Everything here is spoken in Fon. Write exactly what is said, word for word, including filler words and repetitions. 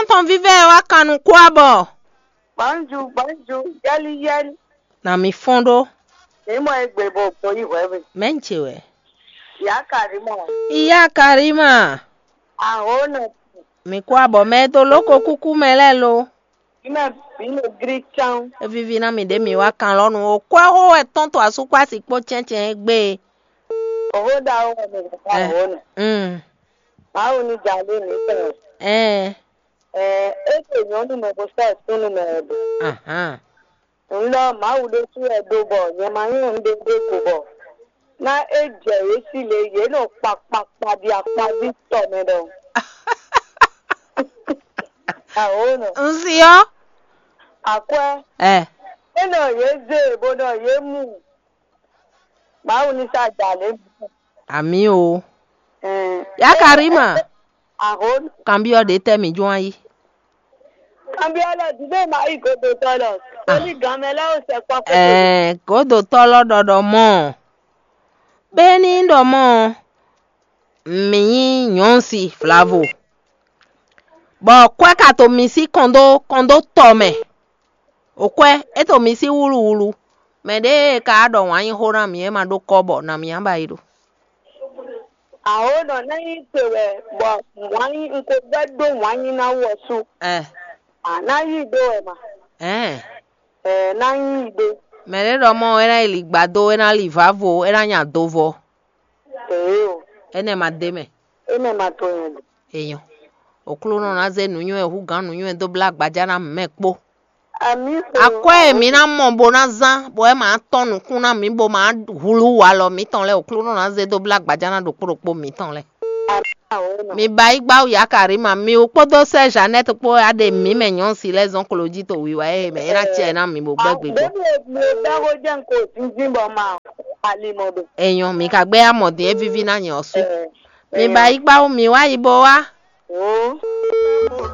Tɔn vívɛ wá kan nukún abɔ. Gbɔnju, gbɔnju, yɛli yɛli. Na mi fɔn ɖó. Ní mɔ egbe bo bo yi hwɛ mi. Mɛ ń ce wɛ. Ìyá Karima. Ìyá Karima. Àhó nɔ. Mi kó abɔ mɛ tó lóko kúkú mɛ lɛ́ɛ lo. Bí mɛ bí lo grí cán. Evivi ná mi ɖé mi wá kan lɔnu o. Kó ɛhó wɛ tɔn to asúkpá sí kpó cɛncɛn gbé. Òhó da ó wɛ mi bàbá àhó nɔ. Mm. Báwo ni jà lé mi tẹ̀? Ẹ. Ɛ, é ɖo nyɔ̌nu mɛ bó sɔ́ súnnu mɛ wɛ ɖo. Ahán. Ŋlɔ Mawu ɖésú wɛ ɖó bɔ nyɛ ma nyí nǔɖé ɖé ko bɔ ná é jɛ yě sí le yě nɔ kpakpakpa ɖi akpaví tɔ mɛ ɖɔhun. Awǒ nɔ. Un si ɔ́. Akwɛ́. Ɛ. É nɔ yě zé bó nɔ yě mu. Mawu ní sá jà lě. Amǐ o. Ɛɛ, Yá Karima. Ahó. Kanbyɔ́ ɖě tɛ́ mǐ jɔ́n ayí? Kanbyɔ́ lɔ dǐdé ma yi godotɔ lɔ. Ah. Torí gan mɛ lɛ́ ó sɛ kpɔ́ kpɛ́. Ɛɛ, godotɔ lɔ ɖɔɖɔ mɔ. Bɛ́ni ɖɔ mɔ mǐ nyí nyɔ̌nsi vlavo, bɔ kwɛ́ ka to mi sí kɔndó kɔndó tɔ mɛ. Okwɛ́, é to mi sí wúluwúlu. Mɛ ɖě e ka ɖɔ wǎn yí xó ná mǐ é ma ɖó kɔ́ bɔ nǎ mǐ á ba yi ɖo. Àwǒ nɔ ná nyí te wɛ bɔ wǎn yí un ko vɛ́ ɖó wǎn yí ná wɔ sú. Ɛ. À ná yí ɖó wɛ ma. Ɛn. Ɛ ná yí ɖó. Mɛ ɖě ɖɔ mɔ é ná yi li gbado, é ná li vǎvo, é ná nya dovɔ. Ee o. Énɛ́ ma d'é mɛ. Énɛ́ ma to nyɛ ɖe. Èèyàn. Òklúnɔ ná zé nǔnywɛ́ hú gǎn nǔnywɛ́ dó blá gbajá ná mɛ kpó. Àmì kò. Akwɛ́ e mǐ ná mɔ bó ná zán, bɔ é ma tɔ́n nukún ná mǐ, bó ma hlu walɔ mǐtɔn lɛ́ɛ, Òklúnɔ ná zé dó blá gbajá ná ɖokpó ɖokpó mǐtɔn lɛ́ɛ. Àmì àwòrán. Mi ba yí gbá wǔ yá Karima, mi wú kpódó sɛ́ Jeannette kpó wɛ á ɖe mǐ mɛ nyɔ̌nu si lɛ́ɛ zɔ́n klo jí to wiwa e mɛ é ná cɛ ná mǐ bó gbɛ́ gbigbɔ. Bébí o bó jẹ́ nko zinzin bɔ ma alimɔ do. Èèyàn mi ka gbé amọ̀ dín é víví ná nyɛ ɔ́ sú. Mi ba yí gbá wú mi wá yi bó wá. Ó.